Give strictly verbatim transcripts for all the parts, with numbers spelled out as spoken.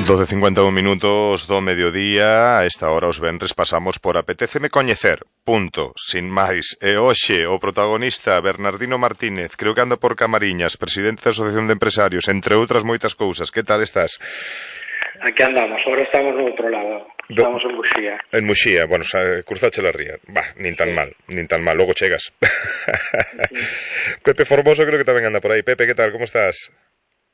doce e cincuenta e un minutos do mediodía. A esta hora os venres pasamos por Apetéceme Coñecer. Punto. Sin máis. E hoxe o protagonista Bernardino Martínez, creo que anda por Camariñas, presidente da Asociación de Empresarios, entre outras moitas cousas. Que tal estás? Aquí andamos, ahora estamos no outro lado. Estamos en Muxía. En Muxía, bueno, cruzache la ría. Bah, nin tan sí. mal, nin tan mal, logo chegas. Sí. Pepe Formoso creo que tamén anda por aí. Pepe, que tal, como estás?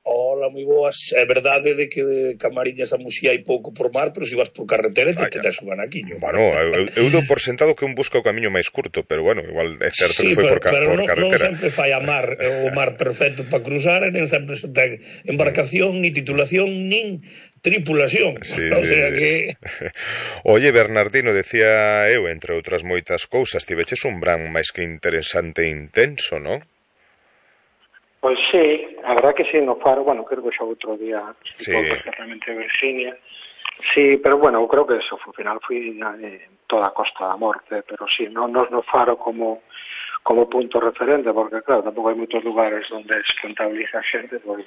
Hola, moi boas. É verdade de que de Camariñas a Muxía hai pouco por mar, pero se vas por carretera te tenes un anaquiño. Bueno, eu, eu dou por sentado que un busca o camiño máis curto, pero bueno, igual é certo sí, que foi pero, por, ca pero por no, carretera. non sempre fai a mar, o mar perfecto para cruzar, e non sempre se ten embarcación, ni titulación, nin tripulación. Sí, o sea que... Oye, Bernardino, decía eu, entre outras moitas cousas, tiveches un verán máis que interesante e intenso, non? Pois sí, a verdad que sí, no Faro, bueno, creo que xa outro día explicou sí. perfectamente Virginia. Sí, pero bueno, eu creo que eso, ao final foi eh, toda a Costa da Morte, pero sí, non nos no Faro como como punto referente, porque claro, tampouco hai moitos lugares onde se contabiliza a xente, pois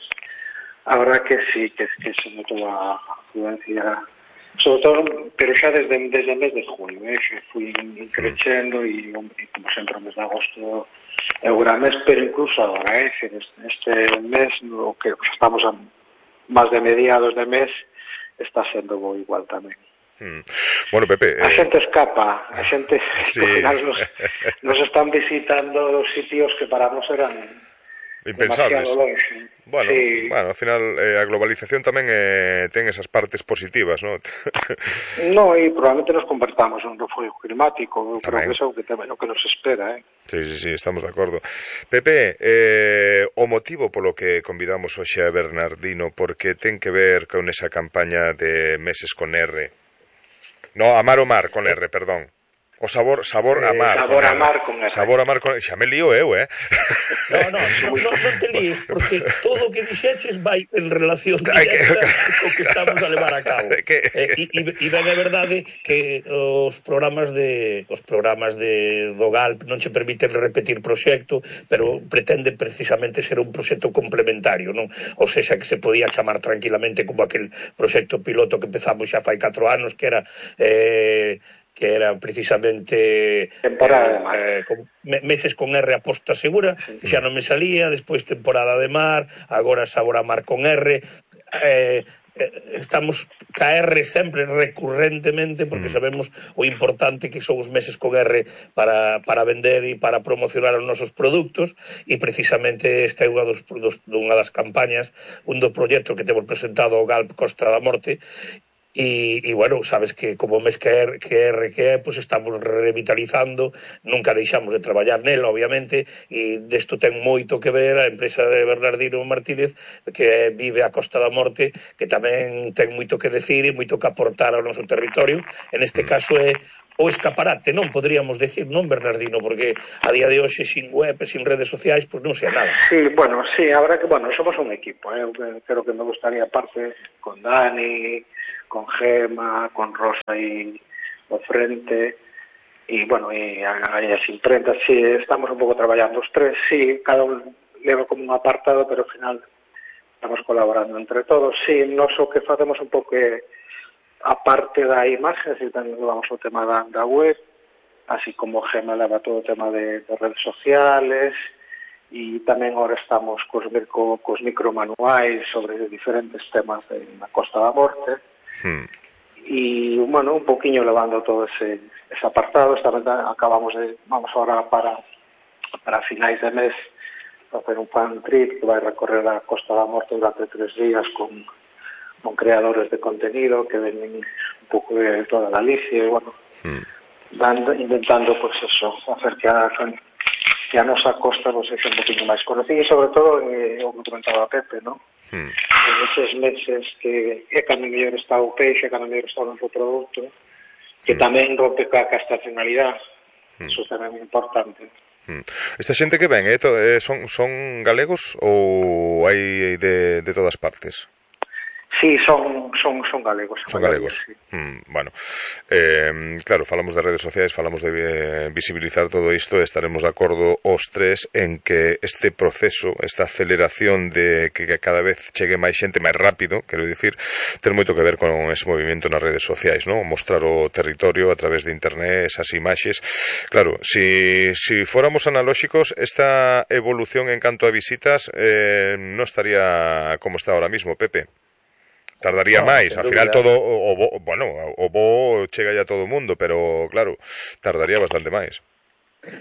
a verdad que sí, que, que se notou a afluencia, sobre todo, pero xa desde, desde o mes de junio, eh, xa fui crecendo e, e como sempre o mes de agosto é o gran mes, pero incluso agora, eh, este mes, no que estamos a máis de mediados de mes, está sendo bo igual tamén. Hmm. Bueno, Pepe... A xente escapa, a xente, sí. ao final nos, nos están visitando sitios que para nós eran impensables. Bueno, sí. bueno, ao final eh, a globalización tamén eh, ten esas partes positivas, ¿no? No, e probablemente nos convertamos en un refugio climático. Eu creo que eso é o que, o que nos espera, eh? Sí, sí, sí, estamos de acordo. Pepe, eh, o motivo polo que convidamos hoxe a Bernardino, porque ten que ver con esa campaña de Meses con R. No, Amar o Mar con R, perdón. O sabor, sabor a mar. Eh, sabor a mar con R. Sabor a mar con R. Xa me lío eu, eh? No, no, no, no, non te líes, porque todo o que dixeches vai en relación directa co que estamos a levar a cabo. Que... Eh, e, e ben é verdade que os programas de os programas de do Galp non che permiten repetir proxecto, pero pretende precisamente ser un proxecto complementario, non? Ou seja, que se podía chamar tranquilamente como aquel proxecto piloto que empezamos xa fai catro anos, que era... Eh, que era precisamente temporada de mar. Eh, con, meses con R aposta segura, que xa non me salía, despois temporada de mar, agora sabor a mar con R. Eh, estamos ca R sempre recurrentemente porque sabemos o importante que son os meses con R para, para vender e para promocionar os nosos produtos, e precisamente esta é unha, dos, dos, unha das campañas, un dos proxectos que temos presentado ao Galp Costa da Morte. E, e bueno, sabes que como mes que R que, R, que é, pues estamos revitalizando, nunca deixamos de traballar nela, obviamente, e desto ten moito que ver a empresa de Bernardino Martínez, que vive a Costa da Morte, que tamén ten moito que decir e moito que aportar ao noso territorio. En este caso é o escaparate, non poderíamos decir, non, Bernardino, porque a día de hoxe sin web e sin redes sociais, pois pues non sei nada. Sí, bueno, sí, a verdad que, bueno, somos un equipo, eh? Creo que me gustaría, aparte, con Dani, con Gema, con Rosa y o frente, y bueno, y as imprentas, sí, estamos un pouco traballando os tres, sí, cada un leva como un apartado, pero ao final estamos colaborando entre todos, sí, nos o que facemos un pouco é a parte da imagen, así tamén levamos o tema da, da web, así como Gema leva todo o tema de, de redes sociales, e tamén agora estamos cos, co, cos micromanuais sobre diferentes temas de, na Costa da Morte, hmm. e, bueno, un poquinho levando todo ese, ese apartado. Esta vez acabamos de, vamos ahora para, para finais de mes, a hacer un fan trip que vai recorrer a Costa da Morte durante tres días con con creadores de contenido que venen un pouco de toda Galicia e, bueno, mm. dando, intentando, pues eso, hacer que a, que a nosa costa pues, sexa un poquinho máis conocida e, sobre todo, eh, o que comentaba Pepe, ¿no? Mm. En esos meses que é cando mellor está o peixe, cando mellor está o noso produto, que mm. tamén rompe ca estacionalidade, mm. eso tamén é importante. Esta xente que ven, eh, to, eh, son, son galegos ou hai de, de todas partes? Sí, son, son, son galegos. Son galegos. Sí. Mm, bueno, eh, claro, falamos de redes sociais, falamos de eh, visibilizar todo isto, estaremos de acordo os tres en que este proceso, esta aceleración de que cada vez chegue máis xente máis rápido, quero dicir, ten moito que ver con ese movimento nas redes sociais, ¿no? Mostrar o territorio a través de internet, esas imaxes. Claro, si, si fóramos analóxicos, esta evolución en canto a visitas eh, non estaría como está ahora mismo, Pepe. Tardaría no, máis, ao final todo o, o, bueno, o bo chega ya todo o mundo, pero claro, tardaría bastante máis.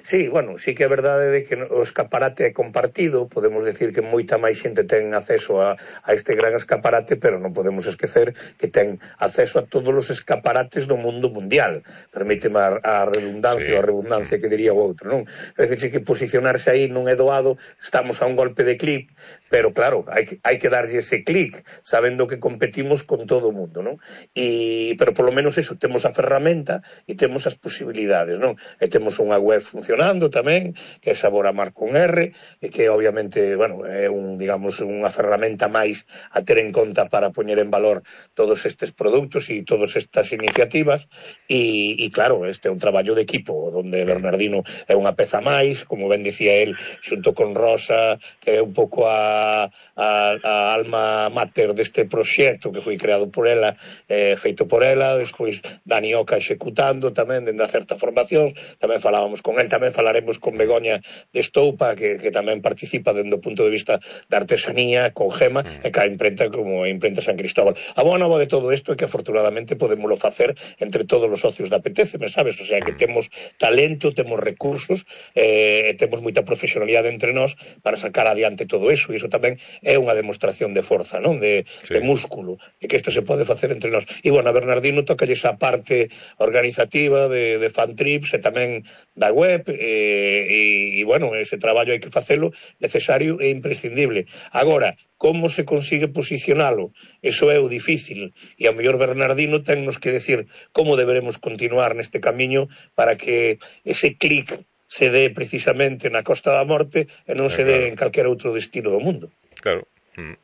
Sí, bueno, sí que é verdade de que o escaparate é compartido, podemos decir que moita máis xente ten acceso a, a este gran escaparate, pero non podemos esquecer que ten acceso a todos os escaparates do mundo mundial, permíteme a, a redundancia sí. ou a redundancia que diría o outro, non? É dicir, que posicionarse aí non é doado, estamos a un golpe de clic, pero claro, hai que, hai que darlle ese clic, sabendo que competimos con todo o mundo, non? E, pero polo menos eso, temos a ferramenta e temos as posibilidades, non? E temos unha web funcionando tamén, que é Sabor a Mar con R, e que obviamente, bueno, é un, digamos, unha ferramenta máis a ter en conta para poñer en valor todos estes produtos e todas estas iniciativas, e, e claro, este é un traballo de equipo, onde Bernardino é unha peza máis, como ben dicía el, xunto con Rosa, que é un pouco a, a, a alma mater deste proxecto que foi creado por ela, eh, feito por ela, despois Dani Oca executando tamén, dende a certa formación, tamén falábamos con el, tamén falaremos con Begoña de Estoupa, que, que tamén participa dende o punto de vista da artesanía, con Gema, e ca imprenta como a imprenta San Cristóbal. A boa nova de todo isto é que afortunadamente podémoslo facer entre todos os socios da P T C, me sabes? O sea, que temos talento, temos recursos, eh, e temos moita profesionalidade entre nós para sacar adiante todo iso, e iso tamén é unha demostración de forza, non? De, sí. de músculo, e que isto se pode facer entre nós. E, bueno, a Bernardino toca esa parte organizativa de, de fan trips e tamén da web, e, e, bueno, ese traballo hai que facelo necesario e imprescindible. Agora, como se consigue posicionalo? Eso é o difícil, e ao mellor Bernardino tennos que decir como deberemos continuar neste camiño para que ese clic se dé precisamente na Costa da Morte e non se dé en calquer outro destino do mundo. Claro.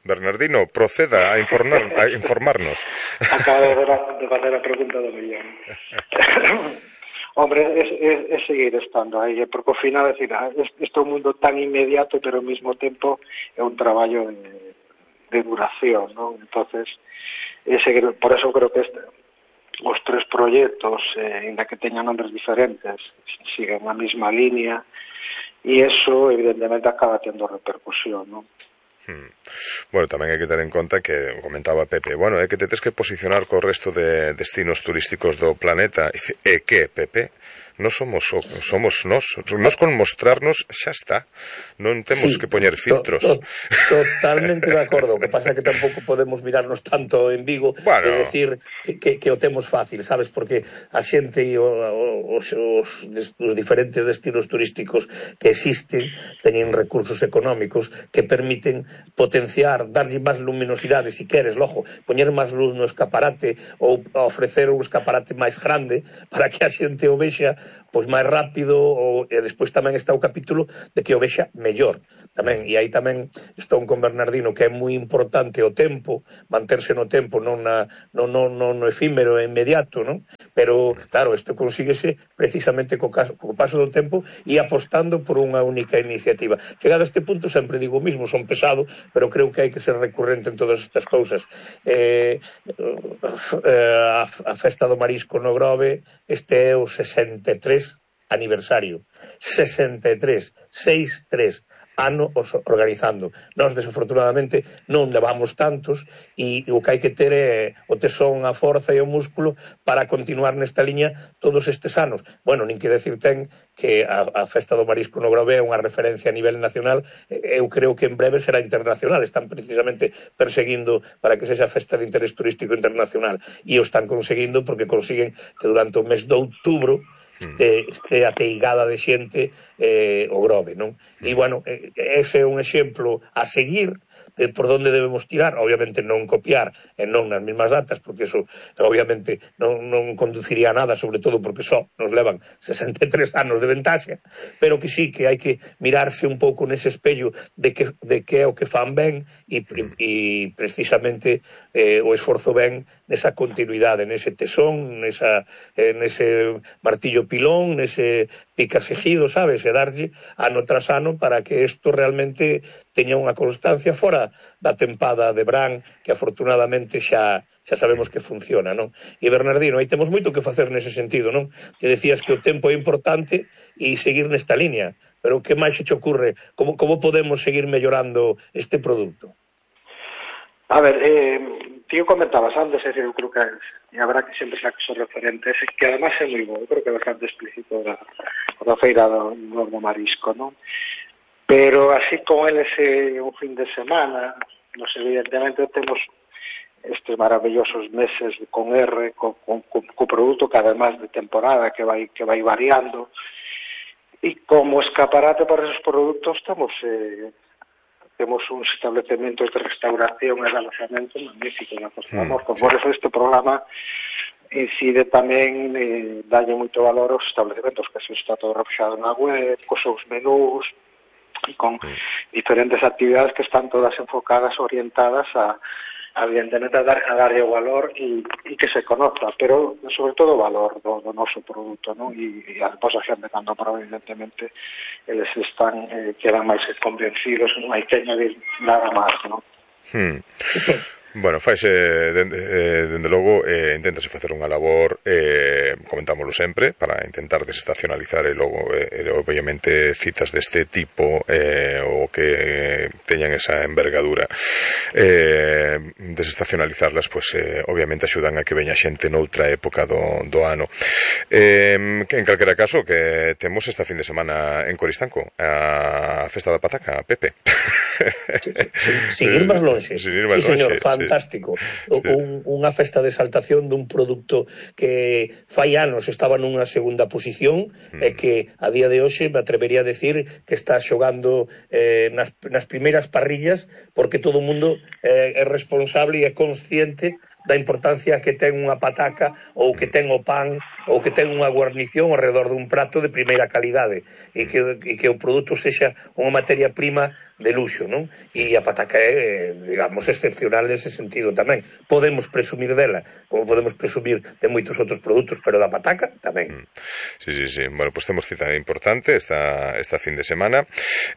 Bernardino, proceda a, informar, a informarnos. Acaba de facer a pregunta do millón. Hombre, es, es, es seguir estando aí, porque ao final, é dicir, este é un mundo tan inmediato, pero ao mesmo tempo é un traballo de, de duración, non? Entonces, é seguir, por eso creo que este, os tres proxectos, eh, en que teñan nombres diferentes, siguen a mesma línea, e eso, evidentemente, acaba tendo repercusión, non? Hmm. Bueno, tamén hai que ter en conta que comentaba Pepe, bueno, é que te tes que posicionar co resto de destinos turísticos do planeta. E que, Pepe? Nos somos somos nós, nós con mostrarnos xa está. Non temos sí, que poñer filtros. To, to, totalmente de acordo. O que pasa é que tampouco podemos mirarnos tanto en Vigo bueno. e decir que, que, que o temos fácil, sabes? Porque a xente e os, os, os diferentes destinos turísticos que existen teñen recursos económicos que permiten potenciar, darlle máis luminosidade, se queres, logo, poñer máis luz no escaparate ou ofrecer un escaparate máis grande para que a xente o vexa pois máis rápido, ou, e despois tamén está o capítulo de que o vexa mellor tamén, e aí tamén estou con Bernardino que é moi importante o tempo, manterse no tempo, non na, no, no, no, no efímero e inmediato, non? Pero claro, isto consíguese precisamente co, caso, co paso do tempo e apostando por unha única iniciativa. Chegado a este punto sempre digo o mismo, son pesado, pero creo que hai que ser recurrente en todas estas cousas. eh, eh, a, a festa do marisco no Grove, este é o sesenta e tres aniversario, sesenta e tres, sesenta e tres ano os organizando. Nós, desafortunadamente, non levamos tantos, e o que hai que ter é o tesón, a forza e o músculo para continuar nesta liña todos estes anos. Bueno, nin que decir ten que a, a festa do marisco no Grove é unha referencia a nivel nacional, eu creo que en breve será internacional. Están precisamente perseguindo para que sexa festa de interés turístico internacional, e o están conseguindo porque consiguen que durante o mes de outubro este, este ateigada de xente eh, o Grove, non? E, bueno, ese é un exemplo a seguir, de por onde debemos tirar, obviamente non copiar e non nas mesmas datas, porque eso obviamente non, non conduciría a nada, sobre todo porque só nos levan sesenta e tres anos de ventaxa, pero que sí que hai que mirarse un pouco nese espello de que, de que é o que fan ben e, e precisamente eh, o esforzo ben nesa continuidade, nese tesón, nesa, eh, nese martillo pilón, nese picasejido, sabes, e darlle ano tras ano para que isto realmente teña unha constancia fora da tempada de Bran, que afortunadamente xa xa sabemos que funciona, non? E Bernardino, aí temos moito que facer nese sentido, non? Te decías que o tempo é importante e seguir nesta línea, pero que máis se te ocurre? Como, como podemos seguir mellorando este produto? A ver, eh, tío comentabas antes, é dicir, eu creo que e habrá que sempre xa que son referentes, que además é moi bo, eu creo que é bastante explícito da, da feira do, do marisco, non? Pero así con eles eh, un fin de semana, nos evidentemente temos estes maravillosos meses con R, co, con, co, co produto cada máis de temporada que vai que vai variando, e como escaparate para esos produtos temos eh, temos uns establecementos de restauración e de alojamento magníficos na Costa da Morte. Por eso este programa incide tamén, eh, dalle moito valor aos establecementos, que se está todo reflexado na web, cos seus menús, e con diferentes actividades que están todas enfocadas, orientadas a, a evidentemente, a, dar, a darlle o valor e, e que se conozca, pero sobre todo o valor do, do noso produto, non? E, e a despois a xente, cando prova, evidentemente, eles están, eh, quedan máis convencidos, non hai que añadir nada máis, non? Hmm. Bueno, faise, dende, eh, dende logo, eh, inténtase facer unha labor, eh, comentámoslo sempre, para intentar desestacionalizar e logo, eh, obviamente, citas deste tipo eh, o que teñan esa envergadura, eh, desestacionalizarlas, pues, eh, obviamente axudan a que veña xente noutra época do, do ano. Eh, que en calquera caso, que temos esta fin de semana en Coristanco, a Festa da Pataca, Pepe. Sin ir máis longe. Sin ir máis sí, señor, longe, fantástico. Sí. Un, unha festa de exaltación dun produto que fai anos estaba nunha segunda posición mm. e que a día de hoxe me atrevería a decir que está xogando eh, nas, nas primeiras parrillas, porque todo o mundo eh, é responsable e é consciente da importancia que ten unha pataca ou que ten o pan ou que ten unha guarnición ao redor dun prato de primeira calidade e que, e que o produto sexa unha materia prima de luxo, non? E a pataca é, digamos, excepcional nese sentido tamén. Podemos presumir dela, como podemos presumir de moitos outros produtos, pero da pataca tamén. Sí, sí, sí. Bueno, pues temos cita importante esta, esta fin de semana.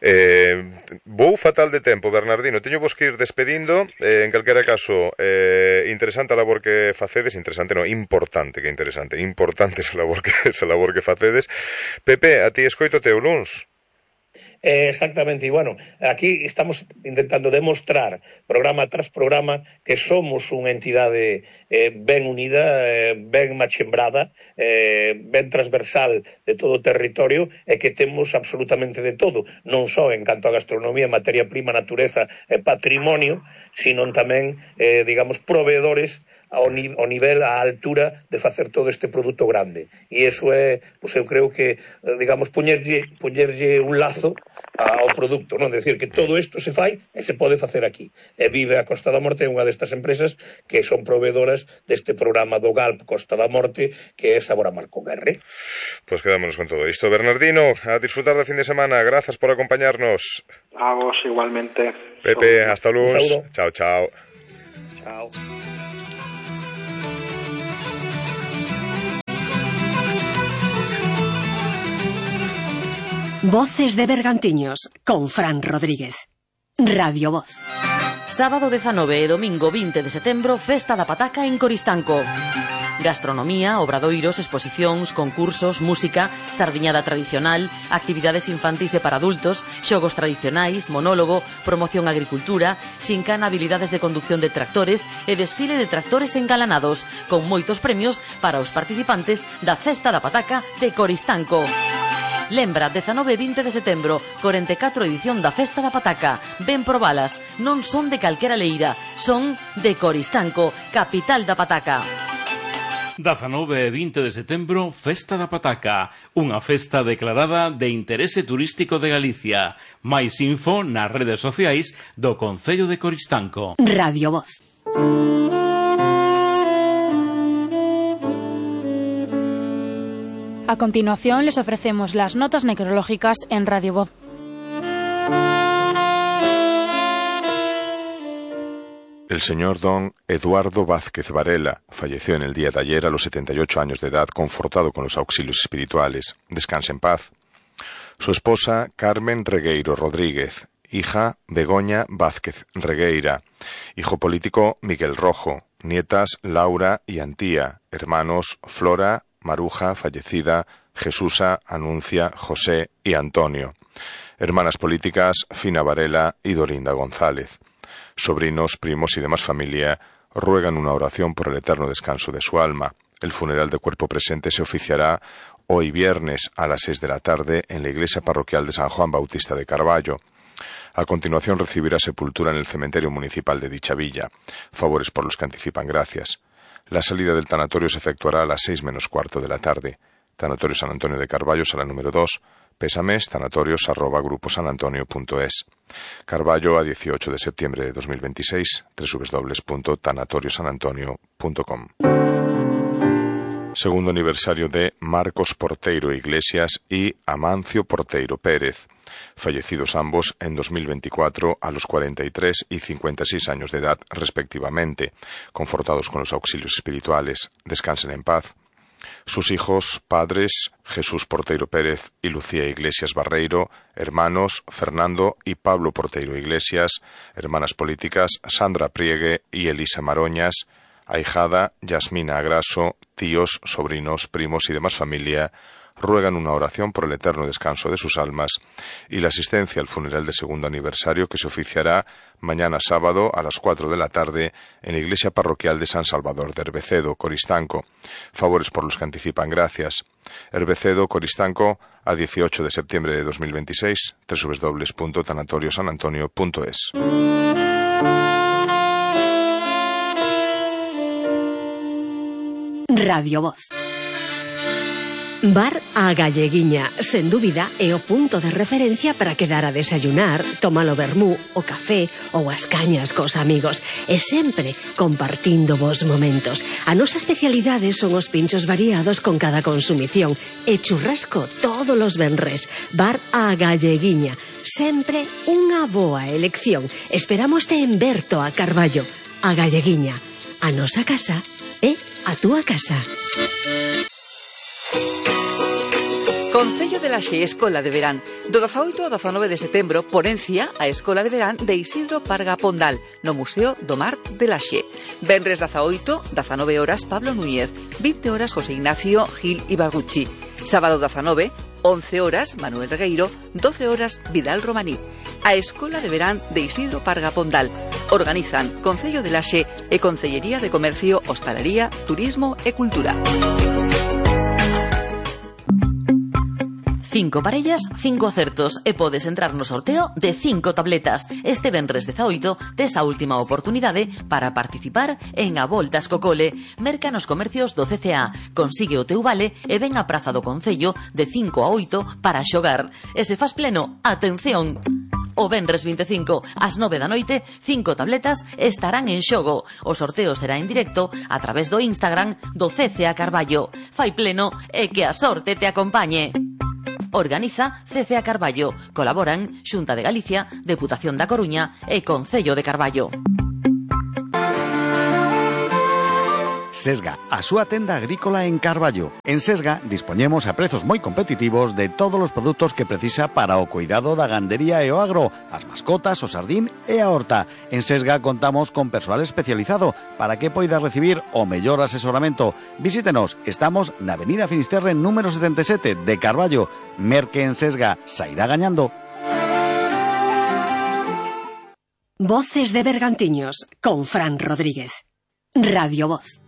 Eh, vou fatal de tempo, Bernardino. Teño vos que ir despedindo. Eh, en calquera caso, eh, interesante a labor que facedes. Interesante, no, importante que interesante. Importante esa labor que, esa labor que facedes. Pepe, a ti escoitote o luns. Eh, exactamente, e bueno, aquí estamos intentando demostrar programa tras programa que somos unha entidade eh, ben unida, eh, ben machembrada, eh, ben transversal de todo o territorio e que temos absolutamente de todo, non só en canto a gastronomía, materia prima, natureza e patrimonio, sino tamén, eh, digamos, proveedores ao, ni, ao nivel, á altura de facer todo este produto grande. E iso é, pois eu creo que, digamos, poñerlle, poñerlle un lazo ao produto, non? Decir que todo isto se fai e se pode facer aquí. E Vive a Costa da Morte é unha destas empresas que son proveedoras deste programa do Galp Costa da Morte, que é Sabor a Mar con R. Pois pues quedámonos con todo isto. Bernardino, a disfrutar da fin de semana. Grazas por acompañarnos. A vos igualmente. Pepe, hasta luns. Chao, chao. Chao. Voces de Bergantiños, con Fran Rodríguez. Radio Voz. Sábado dezanove e domingo vinte de setembro, Festa da Pataca en Coristanco. Gastronomía, obradoiros, exposicións, concursos, música, sardiñada tradicional, actividades infantis e para adultos, xogos tradicionais, monólogo, promoción agricultura, xincana, habilidades de conducción de tractores e desfile de tractores engalanados, con moitos premios para os participantes da Festa da Pataca de Coristanco. Lembra, dezanove e vinte de setembro, corenta e catro edición da Festa da Pataca. Ven probalas, non son de calquera leira, son de Coristanco, capital da pataca. dezanove e vinte de setembro, Festa da Pataca, unha festa declarada de interese turístico de Galicia. Máis info nas redes sociais do Concello de Coristanco. Radio Voz. A continuación les ofrecemos las notas necrológicas en Radio Voz. El señor don Eduardo Vázquez Varela falleció en el día de ayer a los setenta y ocho años de edad, confortado con los auxilios espirituales. Descanse en paz. Su esposa, Carmen Regueiro Rodríguez, hija, Begoña Vázquez Regueira, hijo político, Miguel Rojo, nietas, Laura y Antía, hermanos, Flora, Maruja, fallecida, Jesusa, Anuncia, José y Antonio, hermanas políticas, Fina Varela y Dorinda González. Sobrinos, primos y demás familia ruegan una oración por el eterno descanso de su alma. El funeral de cuerpo presente se oficiará hoy viernes a las seis de la tarde en la iglesia parroquial de San Juan Bautista de Carballo. A continuación recibirá sepultura en el cementerio municipal de dicha villa. Favores por los que anticipan gracias. La salida del tanatorio se efectuará a las seis menos cuarto de la tarde. Tanatorio San Antonio de Carballo, sala número dos. Pésames, tanatorios arroba gruposanantonio punto es. Carballo, a dieciocho de septiembre de dos mil veintiséis, doble u doble u doble u punto tanatorio san antonio punto com. Segundo aniversario de Marcos Porteiro Iglesias y Amancio Porteiro Pérez, fallecidos ambos en dos mil veinticuatro a los cuarenta y tres y cincuenta y seis años de edad respectivamente, confortados con los auxilios espirituales. Descansen en paz. Sus hijos, padres, Jesús Porteiro Pérez y Lucía Iglesias Barreiro, hermanos, Fernando y Pablo Porteiro Iglesias, hermanas políticas, Sandra Priegue y Elisa Maroñas, ahijada, Yasmina Agraso, tíos, sobrinos, primos y demás familia, ruegan una oración por el eterno descanso de sus almas y la asistencia al funeral de segundo aniversario que se oficiará mañana sábado a las cuatro de la tarde en la iglesia parroquial de San Salvador de Herbecedo, Coristanco. Favores por los que anticipan gracias. Herbecedo, Coristanco, a dieciocho de septiembre de dos mil veintiséis, doble u doble u doble u punto tanatorio san antonio punto es. Radio Voz. Bar A Galleguiña, sen dúbida, é o punto de referencia para quedar a desayunar, tomar o vermú, o café ou as cañas cos amigos, e sempre compartindo vos momentos. A nosa especialidade son os pinchos variados con cada consumición e churrasco todos os venres. Bar A Galleguiña, sempre unha boa elección. Esperamos te en Berto a Carballo. A Galleguiña, a nosa casa é a túa casa. Concello de Laxe, Escola de Verán. Do dezaoito ao dezanove de setembro, ponencia a Escola de Verán de Isidro Parga Pondal, no Museo do Mar de Laxe. Venres dezaoito, dezanove horas, Pablo Núñez. vinte horas, José Ignacio Gil Ibarguchi. Sábado dezanove, once horas, Manuel Regueiro. doce horas, Vidal Romaní. A Escola de Verán de Isidro Parga Pondal. Organizan Concello de Laxe e Concellería de Comercio, Hostalería, Turismo e Cultura. Cinco parellas, cinco acertos e podes entrar no sorteo de cinco tabletas. Este venres dezaoito tes a última oportunidade para participar en A Voltas co Cole. Merca nos comercios do C C A. Consigue o teu vale e ven á Praza do Concello de cinco a oito para xogar. E se fas pleno, atención! O venres vinte e cinco, ás nove da noite, cinco tabletas estarán en xogo. O sorteo será en directo a través do Instagram do C C A Carballo. Fai pleno e que a sorte te acompañe. Organiza C C A Carballo. Colaboran Xunta de Galicia, Deputación da Coruña e Concello de Carballo. Sesga, a súa tenda agrícola en Carballo. En Sesga dispoñemos a prezos moi competitivos de todos os produtos que precisa para o cuidado da gandería e o agro, as mascotas, o sardín e a horta. En Sesga contamos con persoal especializado para que poida recibir o mellor asesoramento. Visítenos, estamos na Avenida Finisterre número setenta e sete de Carballo. Merque en Sesga, sairá gañando. Voces de Bergantiños, con Fran Rodríguez. Radio Voz.